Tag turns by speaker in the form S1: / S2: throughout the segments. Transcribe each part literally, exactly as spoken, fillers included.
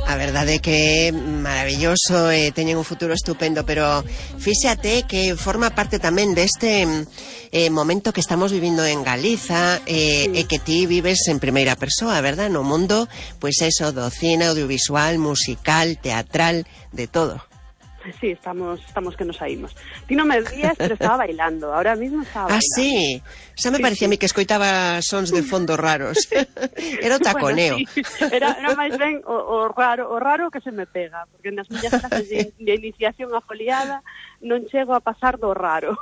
S1: A verdade é que é maravilloso e teñen un futuro estupendo, pero fíxate que forma parte tamén deste eh, momento que estamos vivindo en Galiza eh, sí. E que ti vives en primeira persoa, verdad? No mundo, pois eso, do cine, audiovisual, musical, teatral, de todo.
S2: Sí, estamos estamos que nos saímos. Ti non me vías, pero estaba bailando. Ahora mismo estaba bailando.
S1: Ah, sí? Xa me
S2: sí,
S1: parecía
S2: sí.
S1: a mí que escoitaba sons de fondo raros. Era o taconeo.
S2: Bueno, sí. Era, era máis ben o, o raro o raro que se me pega, porque nas miñas clases de, de iniciación a foliada non chego a pasar do raro.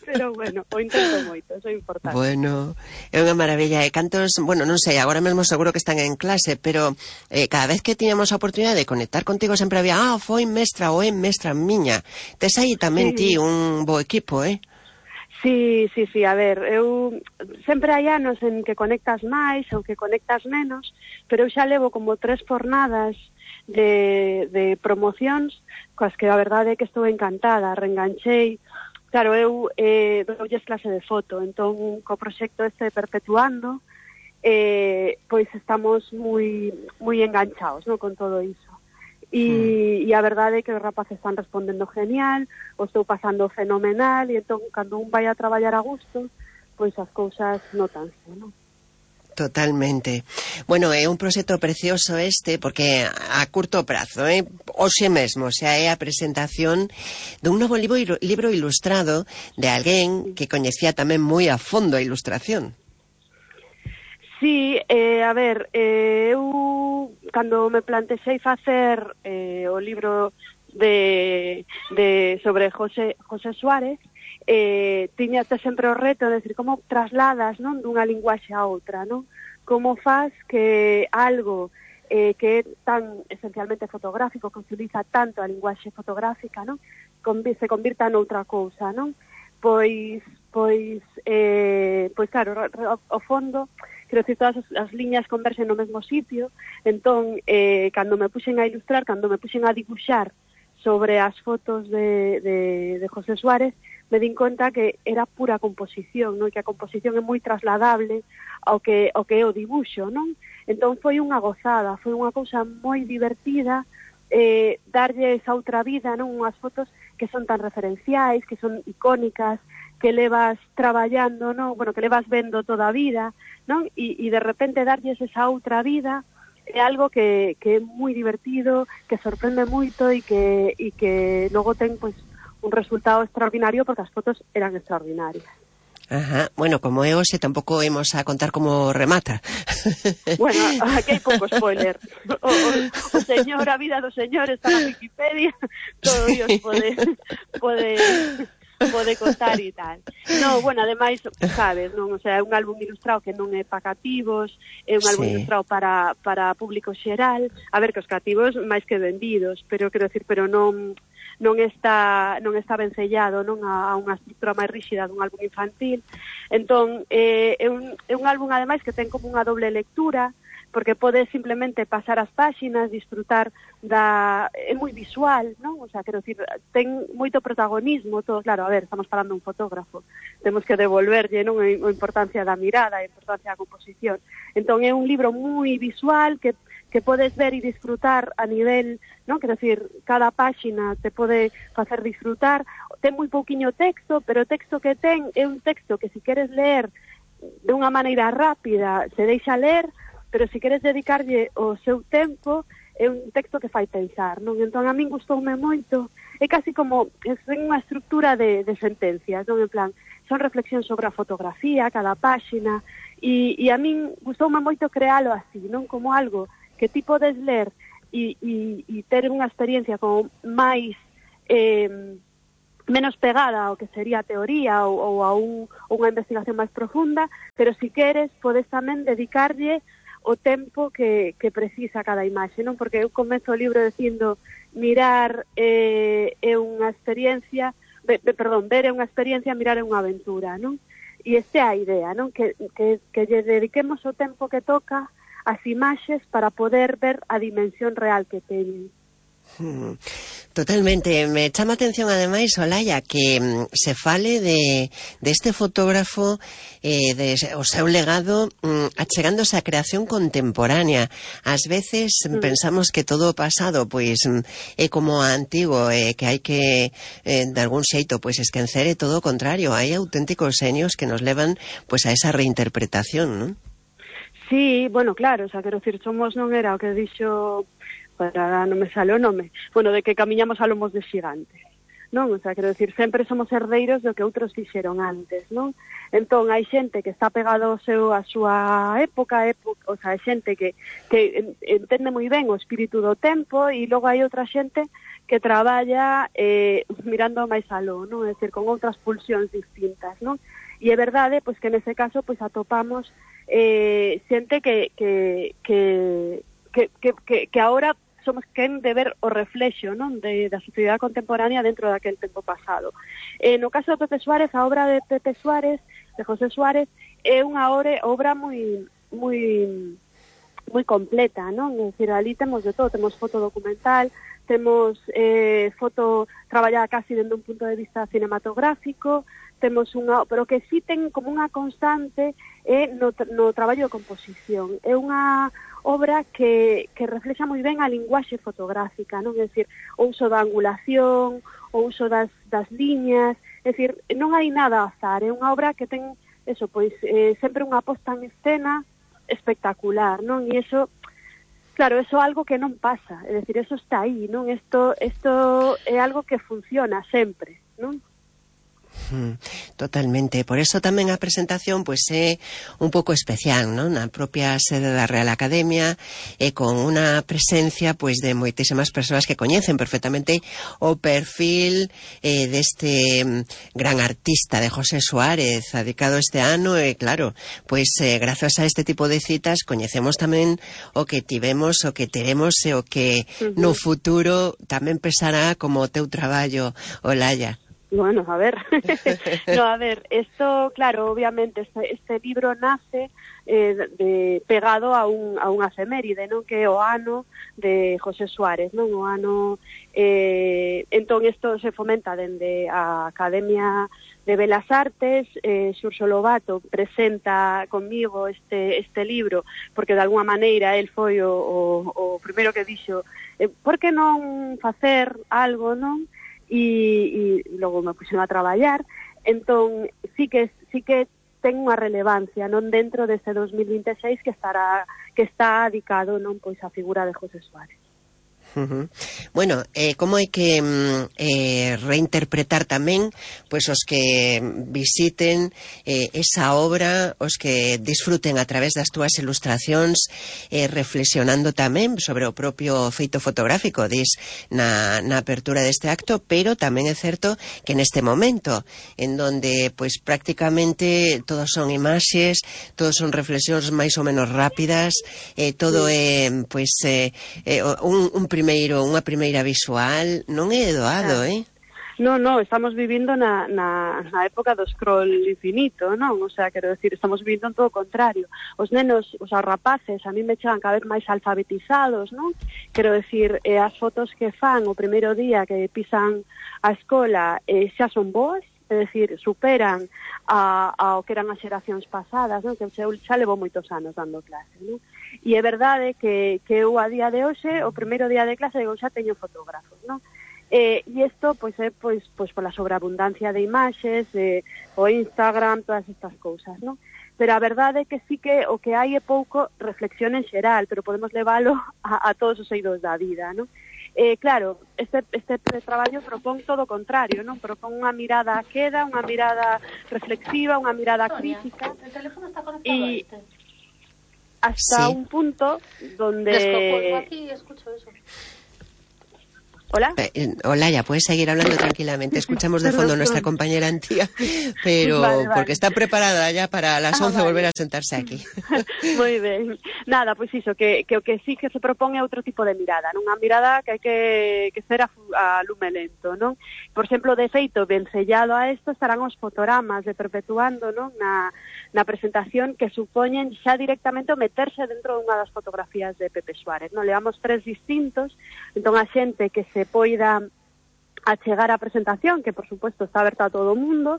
S2: Pero bueno, o intento moito, eso é importante.
S1: Bueno, é unha maravilla. E cantos, bueno, non sei, agora mesmo seguro que están en clase, pero eh, cada vez que tiñamos a oportunidade de conectar contigo sempre había, ah, foi mestra ou é mestra miña. Tes aí tamén sí. Ti un bo equipo, eh?
S2: Sí, sí, sí, a ver, eu sempre hai anos en que conectas máis ou que conectas menos, pero eu xa levo como tres fornadas de, de promocións coas que a verdade é que estou encantada, reenganchei. Claro, eu eh, doulles clase de foto, entón co proxecto este Perpetuando, eh, pois estamos moi moi enganchados, no, con todo iso. E, mm. e a verdade é que os rapaces están respondendo genial, o estou pasando fenomenal, e entón, cando un vai a traballar a gusto, pois as cousas notanse, non?
S1: Totalmente. Bueno, é un proxecto precioso este, porque a curto prazo, eh? Hoxe mesmo, xa é a presentación dun novo libro, libro ilustrado de alguén que coñecía tamén moi a fondo a ilustración.
S2: Sí, eh, a ver, eh, eu cando me plantexei facer eh, o libro de, de sobre José, José Suárez, eh, tiñate sempre o reto de decir como trasladas, non, dunha linguaxe a outra, non? Como faz que algo eh, que é tan esencialmente fotográfico, que utiliza tanto a linguaxe fotográfica, non? Convi- se convirta noutra cousa, non? Pois, pois, eh, pois claro, ao fondo, quero dicir, todas as, as liñas conversen no mesmo sitio, entón, eh, cando me puxen a ilustrar, cando me puxen a dibuixar sobre as fotos de, de, de José Suárez, me din conta que era pura composición, non? Que a composición é moi trasladable ao que, ao que é o dibuixo, non? Entón foi unha gozada, foi unha cousa moi divertida, eh, darlle esa outra vida, non? Unhas fotos que son tan referenciais, que son icónicas, que levas traballando, non? Bueno, que levas vendo toda a vida, non? E, e de repente darlles esa outra vida é algo que, que é moi divertido, que sorprende moito e que, e que logo ten, pois, un resultado extraordinario porque as fotos eran extraordinarias.
S1: Ajá, bueno, como é hoxe tampouco imos a contar como remata.
S2: Bueno, aquí hai pouco spoiler. O, o, o señor, a vida do señor está na Wikipedia, todo Dios pode pode pode contar e tal. No, bueno, ademais, sabes, non, o sea, é un álbum ilustrado que non é para cativos, é un álbum sí. ilustrado para para público xeral. A ver, que os cativos máis que vendidos, pero quero decir, pero non non está non está vencellado, non a, a unha estrutura máis ríxida dun álbum infantil. Entón, eh, é, un, é un álbum, ademais, que ten como unha doble lectura, porque podes simplemente pasar as páxinas, disfrutar da... é moi visual, non? O sea, quero dicir, ten moito protagonismo, todo, claro, a ver, estamos falando de un fotógrafo, temos que devolverlle, non, a importancia da mirada, a importancia da composición. Entón, é un libro moi visual que que podes ver e disfrutar a nivel, non? Quero dicir, cada páxina te pode facer disfrutar. Ten moi pouquiño texto, pero o texto que ten é un texto que, se queres ler de unha maneira rápida, se deixa ler, pero se queres dedicarlle o seu tempo, é un texto que fai pensar, non? Entón, a min gustoume moito. É casi como, é unha estrutura de, de sentencias, non? En plan, son reflexións sobre a fotografía, cada páxina, e, e a min gustoume moito crealo así, non? Como algo que ti podes ler e, e, e ter unha experiencia como máis eh, menos pegada ao que sería a teoría ou, ou a un, unha investigación máis profunda, pero se queres podes tamén dedicarlle o tempo que, que precisa cada imaxe, non? Porque eu comezo o libro dicindo mirar eh, é unha experiencia, be, be, perdón, ver é unha experiencia, mirar é unha aventura, non? E esta é a idea, non? Que, que, que lle dediquemos o tempo que toca as imaxes para poder ver a dimensión real que teñen.
S1: Totalmente. Me chama a atención ademais, Olalla, que mm, se fale de, de este fotógrafo eh, de o seu legado mm, achegándose á creación contemporánea. Ás veces mm. pensamos que todo o pasado pois mm, é como antigo, eh, que hai que eh, de algún xeito pois esquecer, e todo o contrario, hai auténticos xenios que nos levan pois a esa reinterpretación, non?
S2: Sí, bueno, claro, o sea, quero dicir, somos non era o que dixo, para non me sale o nome, bueno, de que camiñamos a lomos de xigantes, non? O sea, quero dicir, sempre somos herdeiros do que outros fixeron antes, non? Entón, hai xente que está pegado ao seu, a súa época, época, o sea, hai xente que, que entende moi ben o espírito do tempo, e logo hai outra xente que traballa eh, mirando máis aló, non? É dicir, con outras pulsións distintas, non? E é verdade, pois, que nese caso, pois, atopamos eh, xente que, que, que, que, que, que, que ahora somos quen de ver o reflexo, non, de, da sociedade contemporánea dentro daquel tempo pasado. Eh, no caso de Pepe Suárez, a obra de Pepe Suárez, de José Suárez, é unha obra, obra moi moi moi completa, non? É dicir, ali temos de todo, temos foto documental, temos eh, foto traballada casi dende un punto de vista cinematográfico, temos unha, pero que sí ten como unha constante é no, no traballo de composición. É unha obra que, que reflexa moi ben a linguaxe fotográfica, non? É dicir, o uso da angulación, o uso das, das liñas, é dicir, non hai nada a azar, é unha obra que ten, eso, pois, eh, sempre unha posta en escena espectacular, non? E iso, claro, eso é algo que non pasa, é dicir, eso está aí, non? Isto, isto é algo que funciona sempre, non?
S1: Totalmente, por eso tamén a presentación pois é un pouco especial, non? Na propia sede da Real Academia, e con unha presencia pois de moitísimas persoas que coñecen perfectamente o perfil eh, deste gran artista de José Suárez, dedicado este ano, e claro, pois eh, grazas a este tipo de citas coñecemos tamén o que tivemos, o que teremos e o que uh-huh. no futuro tamén pesará como o teu traballo, Olalla.
S2: Bueno, a ver, no, a ver, esto, claro, obviamente, este, este libro nace eh, de, pegado a un, a unha efeméride, non? Que é o ano de José Suárez, non? O ano, eh, entón, isto se fomenta dende a Academia de Belas Artes, eh, Xurxo Lobato presenta conmigo este, este libro, porque de alguma maneira el foi o, o, o primeiro que dixo, eh, por que non facer algo, non? E, e logo me puxen a traballar, entón sí que sí que ten unha relevancia, non, dentro deste dos mil vinte e seis que estará que está dedicado, non, pois a figura de José Suárez.
S1: Uh-huh. Bueno, eh, como hai que eh, reinterpretar tamén pois os que visiten eh, esa obra, os que disfruten a través das túas ilustracións, eh, reflexionando tamén sobre o propio feito fotográfico, dis na, na apertura deste acto, pero tamén é certo que neste momento en donde pois prácticamente todos son imaxes, todos son reflexións máis ou menos rápidas, eh, todo é pois eh, eh, un, un primeiro, unha primeira visual, non é doado, eh?
S2: No, no, estamos vivindo na, na, na época do scroll infinito, non? O sea, quero decir, estamos vivindo en todo o contrario. Os nenos, os rapaces, a mí me chegan cada vez máis alfabetizados, non? Quero decir, eh, as fotos que fan o primeiro día que pisan a escola eh, xa son boas, é dicir, superan a, a o que eran as xeracións pasadas, non? Que eu xa levo moitos anos dando clase, non? E é verdade que, que eu a día de hoxe, o primeiro día de clase, eu xa teño fotógrafos, non? Eh, e isto, pois, é pois, pois pola sobreabundancia de imaxes, eh, o Instagram, todas estas cousas, non? Pero a verdade é que sí que o que hai é pouco reflexión en xeral, pero podemos leválo a, a todos os eidos da vida, non? Eh, claro, este, este traballo propón todo o contrario, non? Propón unha mirada a queda, unha mirada reflexiva, unha mirada crítica.
S3: El teléfono está conectado
S2: y
S3: a este.
S2: Hasta
S1: sí.
S2: un punto donde...
S3: Descojo aquí y escucho eso.
S2: Hola.
S1: Eh, Olalla, puedes seguir hablando tranquilamente. Escuchamos de fondo a nuestra compañera Antía, pero vale, vale. porque está preparada ya para las once ah, vale. volver a sentarse aquí.
S2: Moi ben. Nada, pois iso, que, que o que sí que se propón é outro tipo de mirada, non? Unha mirada que hai que, que ser a, a lume lento, non? Por exemplo, de feito, ben sellado a isto estarán os fotogramas de Perpetuando, non? Na, na presentación que supoñen xa directamente o meterse dentro dunha das fotografías de Pepe Suárez, non? Leamos tres distintos, entón a xente que se se poida achegar a presentación, que por supuesto está aberta a todo o mundo,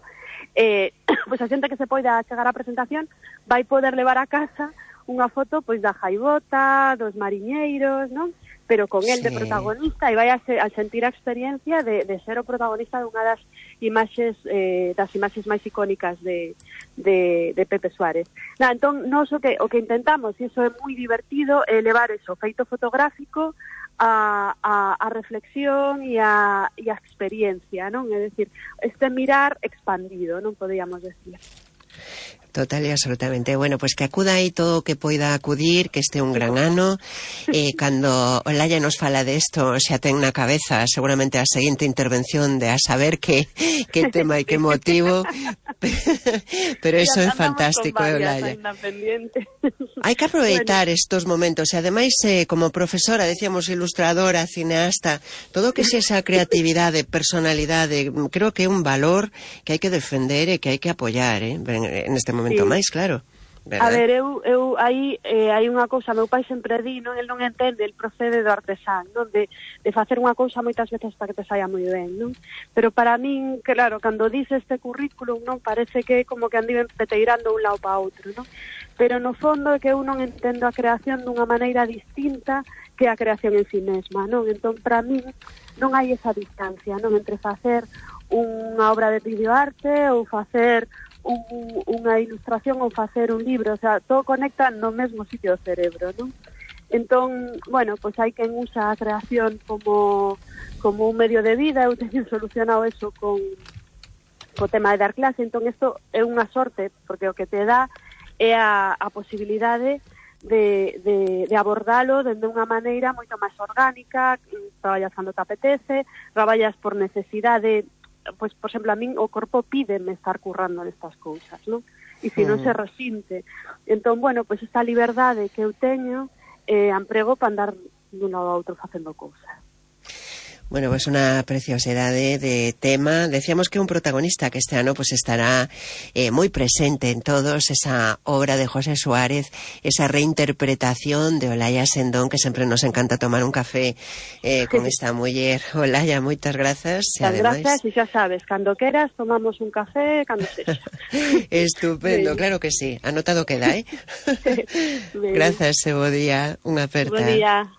S2: eh, pois a xente que se poida achegar a presentación vai poder levar a casa unha foto pois da gaivota, dos mariñeiros, non? Pero con el de protagonista, e vai a, se, a sentir a experiencia de, de ser o protagonista dunha das imaxes eh, das imaxes máis icónicas de, de, de Pepe Suárez. Na, entón, nos o que, o que intentamos, e iso é moi divertido, é levar eso, feito fotográfico, a, a, a reflexión e a, e a experiencia, non? É dicir, este mirar expandido, non podíamos decir.
S1: Total e absolutamente. Bueno, pues que acuda aí todo o que poida acudir, que este un gran ano. Eh, cando Olalla nos fala de isto, xa ten na cabeza seguramente a seguinte intervención de a saber que, que tema e que motivo. Pero eso é fantástico, Olalla. Hai que aproveitar bueno. estos momentos. E ademais, eh, como profesora, decíamos ilustradora, cineasta, todo o que xe esa creatividade, personalidade, creo que é un valor que hai que defender e que hai que apoiar, eh, en este momento sí. máis, claro. ¿Verdad?
S2: A ver, eu, eu aí eh, hai unha cousa, meu pai sempre di, non, el non entende, el procede do artesán, non, de, de facer unha cousa moitas veces para que te saia moi ben, non? Pero para min, claro, cando dice este currículum, non, parece que como que andiven peteirando un lado para outro, non? Pero no fondo é que eu non entendo a creación dunha maneira distinta que a creación en si mesma, non? Entón, para min, non hai esa distancia, non, entre facer unha obra de videoarte ou facer un, unha ilustración ou facer un libro, o sea, todo conecta no mesmo sitio do cerebro, non? Entón, bueno, pois hai quen usa a creación como, como un medio de vida, eu teño solucionado eso con co tema de dar clase, entón isto é unha sorte, porque o que te dá é a, a posibilidade de, de, de abordalo dende unha maneira moito máis orgánica, traballas cando te apetece, traballas por necesidade, pois, por exemplo, a min o corpo pídeme estar currando nestas cousas, non? E se non se resinte. Entón, bueno, pois esta liberdade que eu teño, eh, emprego para andar dun lado a outro facendo cousas.
S1: Bueno, pues una preciosidade de tema. Decíamos que un protagonista que este ano pues estará eh, moi presente en todos, esa obra de José Suárez, esa reinterpretación de Olalla Sendón, que sempre nos encanta tomar un café eh, con esta muller. Olalla, moitas grazas.
S2: Muchas ademais... gracias, e xa sabes, cando queras tomamos un café, cando sexa.
S1: Estupendo, sí. Claro que sí. Anotado queda, eh? Grazas, e bo día. Unha aperta.
S2: Bo día.